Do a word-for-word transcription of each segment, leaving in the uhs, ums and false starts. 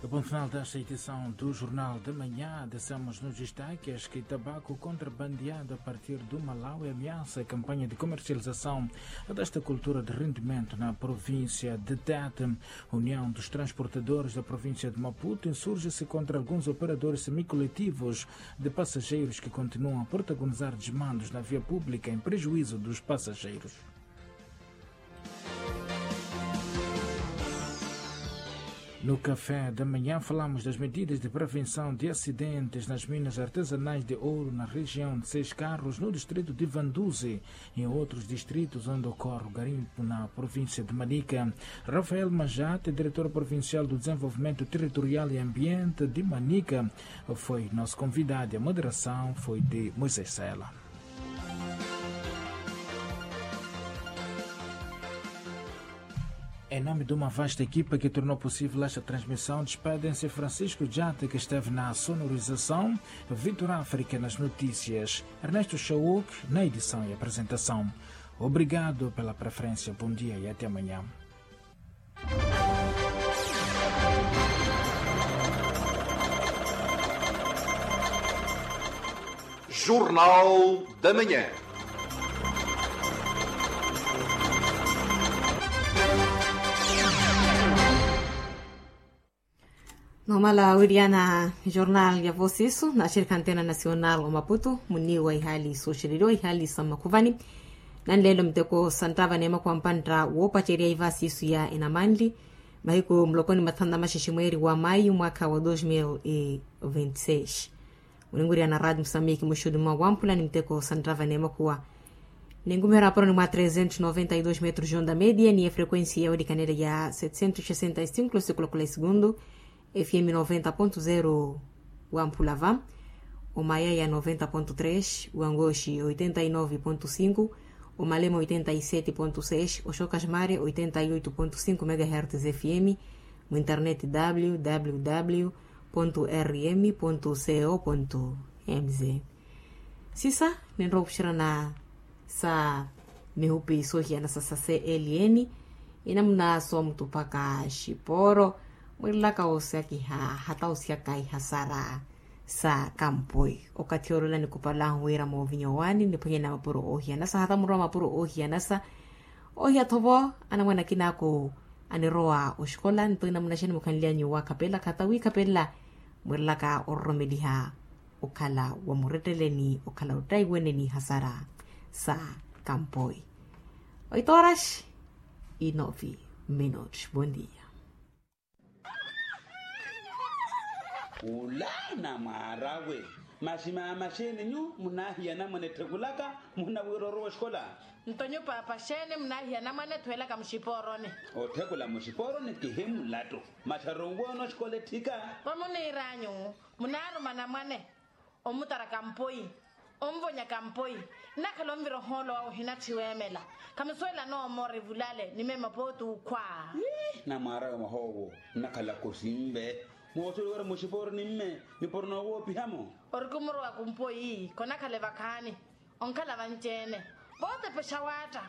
Ponto final desta edição do Jornal da Manhã. Deixamos nos destaques que tabaco contrabandeado a partir do Malawi ameaça a campanha de comercialização desta cultura de rendimento na província de Tete. União dos Transportadores da província de Maputo insurge-se contra alguns operadores semicoletivos de passageiros que continuam a protagonizar desmandos na via pública em prejuízo dos passageiros. No Café da Manhã, falamos das medidas de prevenção de acidentes nas minas artesanais de ouro na região de Seis Carros, no distrito de Vanduzi, em outros distritos onde ocorre o garimpo na província de Manica. Rafael Majate, diretor provincial do Desenvolvimento Territorial e Ambiente de Manica, foi nosso convidado e a moderação foi de Moisés Sela. Em nome de uma vasta equipa que tornou possível esta transmissão, despedem-se Francisco Jate, que esteve na sonorização, Vitor África nas notícias, Ernesto Chauk na edição e apresentação. Obrigado pela preferência, bom dia e até amanhã. Jornal da Manhã. Nomala wiriana jornal ya vosisu na shirika antena nasional wa maputu muniwa ihali soxereriwa ihali sa makhuvani. Nanlelo miteko santtava neema kuwampantta woopacerya ivasisu ya enamanli mahiku mulokoni mathanu na maxexe mweeri wa mayu mwaka wa dos mil e vinte seis. Mulinguryana radi musamiki muxudu mwa wampula ni miteko santtava neema kuwa. Ningumiherya aparoni mwa trezentos noventa e dos metros jonda media ni efrequensi ya welikanela ya setecentos sesenta e cinco sikula kula esegundu. Fm noventa ponto zero wa mpulava, o mayaya noventa ponto tres, wa ngoxi oitenta e nove ponto cinco, o malema oitenta e sete ponto seis, o xokasmare oitenta e oito ponto cinco megahertz fm. Mu internet www ponto rm ponto co ponto mz. Sisa ninrowa opuxerana sa mihupi soohiyanasa sa cln. Inamuna soomutuphaka xiporo mwirelaka osakiha hata osyaka ihasara sa kampoi. Okathi olwela nikupalahu wira moovinya owaani niphwanyana mapuro oohiyanasa hata murowa mapuro oohiyanasa. Oohiya thovo anamwana akinaku anirowa oxikola nto inamuna xani mukhanly'anyu wakhapelaka hata wiikhapelela mwirelaka ororomeliha okhala wa muretteleni okhala ottaiwene ni hasara sa kampoi. Oito horas e nove minutos. Bom dia. Ula namwaarawe. Masi maama xeeni nyu munaahiya namwane etthekulaka muhina wira orowa oxikola? Nto nyu paapa xeeni munaahiya namwane ethuwelaka muxipooroni? Otthekula muxipooroni kihi mulattu. Masi aronw'ono oxikola etthika. Vamuniir'anyu munaaruma namwane omutara kampoi, onvonya kampoi. Nnakhala onvira ohoolo wawe ohinatthi weemela. Khamusuwela noomora evulale ni meema pooti ukhwa. Namwaarawe mwahoowo nnakhalaka osinve. Moosuwela wira muxipooroni mme nipuro noowoopihamo. Ori khumurowa kumpoi khonakhala evakhaani. Onkhala vanci-ene vootepexa waatta.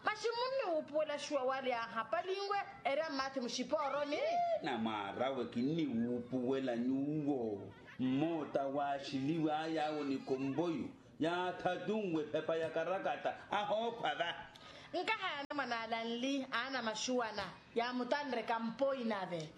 Masi munniwuupuwela xuwa wali aahapalinwe eri ammaathi muxipooroni. Namwaarawe kinniwuupuwela nyuwo. Mmoota waaxiliw'aya awo ni komboyu yaathatunwe ephepa ya karakata ahookhwa va. Nkahaya anamwane ala nli aana maxuwana yaamutanre kampoi nave.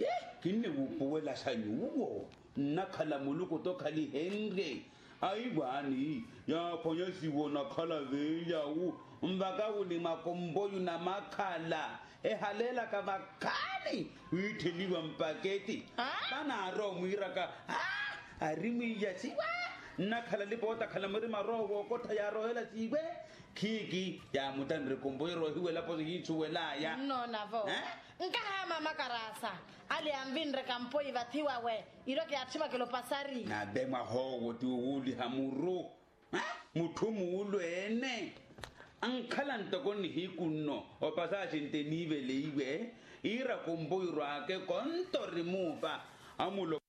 Kinniwuupuwela xa nyuwo. Nnakhala muluku tookhalihenrye. Aiwaani yaaphwanya siwo nakhala veelyawu. Nvaka wuli mwakomboyu na makhala ehaleelaka vakhaani wiittheliwa mpaketi. Vanaari omwiiraka ari mwiiya siwa. Nnakhala lipootakhala mwirimwa roho wookottha yaarohela siiwe. Khiiki yaamutanre komboyu eroohiwelapo sihiithuwel'aya. Nnoonavo. Nkahaama makarasa ale anvinre kampoi vathi wawe. Iro kiyaatthimwakela opasari. Nave mwahoowo ti owuuliha muru. Mutthu muulweene. Ankhala ntoko nihiku nno opasaxi nte niiveleiwe iira komboyu rwake konto ori muupa. Amulo